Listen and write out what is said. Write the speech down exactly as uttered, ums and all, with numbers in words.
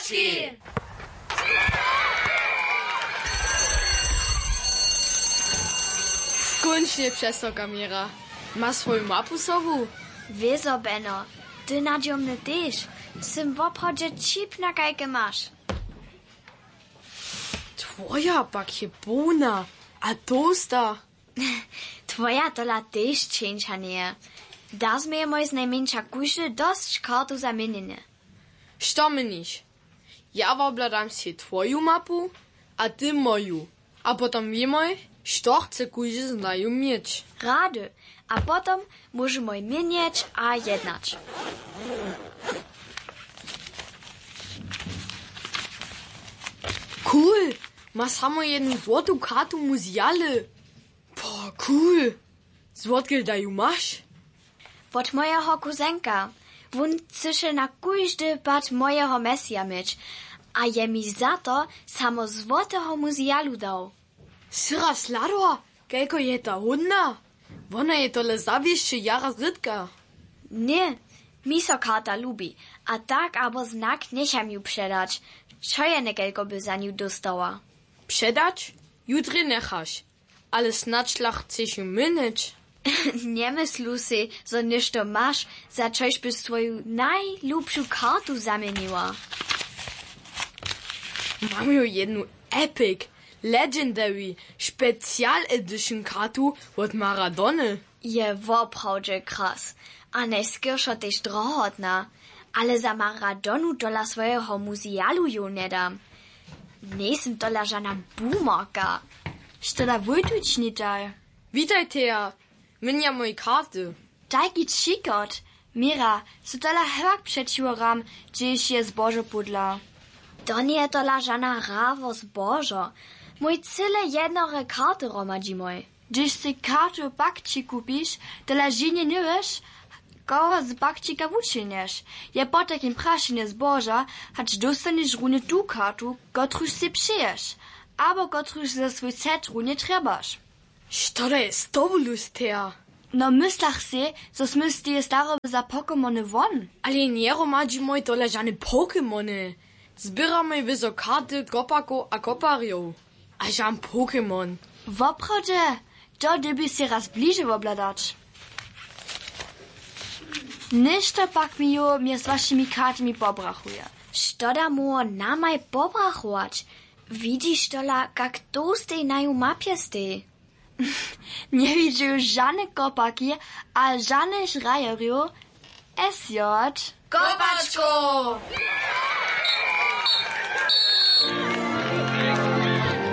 Serbski. Skónčnje přesoka měra. Ma swoju mapu sobu? Wězo, Beno, ty nadźomny tež. Sym woprawdźe ćip na kajke maš. Twoja pak je połna a tołsta. Twoja tola tež čeńša njeje. Da změjemoj znajmjeńša kóždy dosć kartu za měnjenje. Što měniš? Ja wobhladam sej twoju mapu a ty moju, a potom wěmoj, što chce kóždy z naju měć. Rady. A potom móžemoj měnjeć a jednać. Cool. Ma samo jednu złotu kartu muzialy. Po, cool. Zwotkel da ju maš? Wot mojeho kuzenka. Wón chcyše na kóždy pad mojeho mesija měć a je mi za to samo złoteho muzialu dał. Syra sladła, kelko je ta hódna? Wona je tole zawěsće jara zrytka. Ně. Mi so karta lubi, a tak abo znak njecham ju předać. Wčorje někelko by za nju dóstała. Předać? Jutrje njechaš. Ale snadź la chceš ju měnjeć? Njemyslu sej, zo něšto maš, za čož byš swoju najlubšu kartu zaměniła. Mam ju jednu epic, legendary, special edition kartu wot Maradony. Je woprawdźe kras. A najskeršo tež drohotna. Ale za Maradonu tola swojeho muzialu jow njedam. Njejsym tola žana boomerka. Što da wójtuć nitaj? Witajteja. Měnjam moje karty. Tajki ćikot. Měra, so tola hewak přećiwo ram, hdźež je zbožo pódla. To njeje tola žana hra wo zbožo. Mój cyle jednore karty hromadźimoj. Hdźež sej kartu pak ćikupiš, tola ženje njewěš, koho z pak ćika wučenješ. Je potajkim prašenje zboža, hač dóstanješ runje tu kartu, kotruž sej přeješ, abo kotruž za swój set runje trjebaš. Što to je z tobu, Lusteja? No, myslach sej, zo smy z teje staroby za Pokémony won. Ale njeromadźimoj tola žane Pokémony. Zběramoj wězo karty kopakow a koparjow. A žan Pokémon. Woprawdźe? To dyrbiš sej raz bliže wobhladać. Něšto pak mi jow mjez wašimi kartami pobrachuje. Što da móhło namaj pobrachować? Widźiš tola, kak tołstej na ju mapje steji? Njewidźu žane kopaki a žanych hrajerjow. S J. Kopačkow!